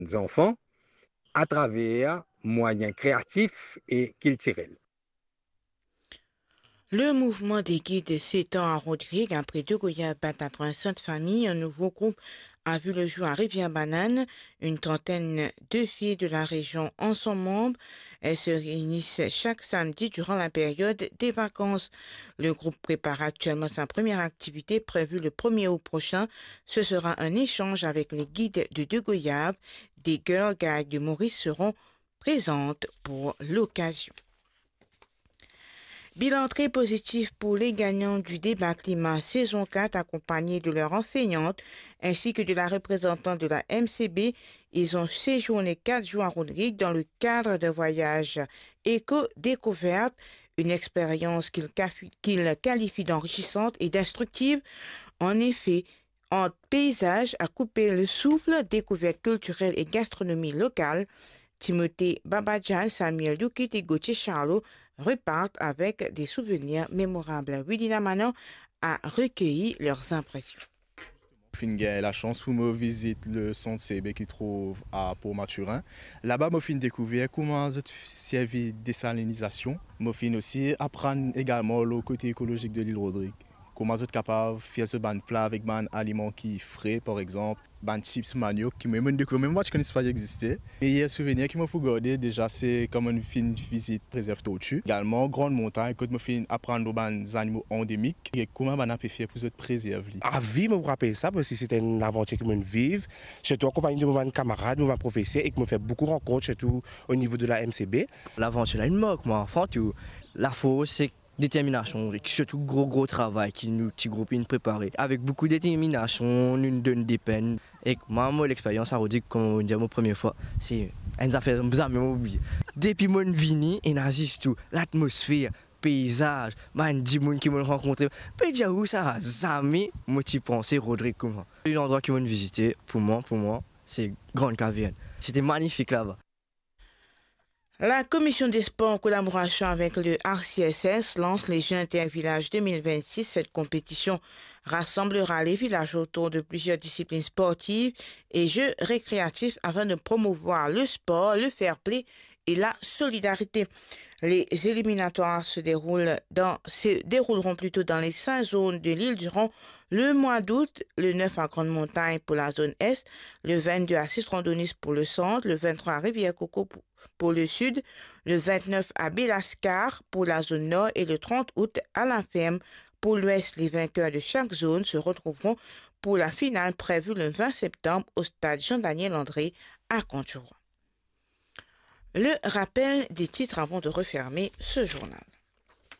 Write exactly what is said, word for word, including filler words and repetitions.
zanfan atraver mwayin kreatif e kiltirel. Le mouvement des guides s'étend à Rodrigues. Après deux goyaves, quatre-vingt-sept familles, un nouveau groupe a vu le jour à Rivière-Banane. Une trentaine de filles de la région en sont membres. Elles se réunissent chaque samedi durant la période des vacances. Le groupe prépare actuellement sa première activité prévue le premier août prochain. Ce sera un échange avec les guides de deux goyaves. Des girl guides de Maurice seront présentes pour l'occasion. Bilan très positif pour les gagnants du débat climat saison quatre, accompagnés de leurs enseignantes ainsi que de la représentante de la M C B. Ils ont séjourné quatre jours à Rodrigues dans le cadre d'un voyage éco-découverte, une expérience qu'ils cafi-, qu'ils qualifient d'enrichissante et d'instructive. En effet, entre paysages à couper le souffle, découvertes culturelles et gastronomie locale, Timothée Babadjan, Samuel Doukit et Gauthier Charlot repartent avec des souvenirs mémorables. Wilina Manon a recueilli leurs impressions. Finn gagn lasans pou mo vizit le sant C B ki trouv a Port Mathurin. Laba mo finn dekouver kouma zot servi desalinizasion. Mo finn osi aprann egalman lor kote ekolozik de lil Rodrig. Kouma zot kapav fer zot bann pla avek bann aliman ki fre, par exanp, bann chips maniok ki mem, mem, mem mwa ti kone pa ti egziste. Meyer souvenir ki mo pou garde deza se kan mo finn vizit prezerv torti. Egalman, Gran Montagn, kot mo finn aprann lor bann zanimo andemik e kouma bann la pe fer pou zot prezerv li. A vi, mo pou rapel sa, parski se enn lavantir ki mo viv, sirtou an konpagni de mo bann kamarad, mo bann profeser, e ki mo fer boukou rankont, sirtou o nivo de la M C B. Lavantir la inn mark mwa, anfan tou, lafors ek determinasion, ek sirtou gro, gro travay ki nou ti group inn prepare. Avek boukou determinasion, nou donn depenn. Ek mwa, mo lexperyans a Rodrig, kouma mo dir, mo premie fwa, se enn zafer zame mo oubliye. Depi mo vini, ena zis tou, latmosfer, peizaz, bann dimoun ki mo rankontre, pe dir ou sa, zame mo ti panse Rodrig koumsa. Landrwa ki mo vizite, pou mwa, pou mwa, se Grand Caverne. Sete manifik laba. La Commission des Sports, en collaboration avec le R C S S, lance les Jeux Intervillages deux mille vingt-six. Cette compétition rassemblera les villages autour de plusieurs disciplines sportives et jeux récréatifs afin de promouvoir le sport, le fair-play et la solidarité. Les éliminatoires se déroulent dans, se dérouleront plutôt dans les cinq zones de l'île durant le mois d'août, le neuf à Grande Montagne pour la zone Est, le vingt-deux à Citron-Daunis pour le centre, le vingt-trois à Rivière-Coco pour, pour le sud, le vingt-neuf à Belascar pour la zone nord et le trente août à La Ferme pour l'ouest. Les vainqueurs de chaque zone se retrouveront pour la finale prévue le vingt septembre au stade Jean-Daniel André à Conturoy. Le rappel des titres avant de refermer ce journal.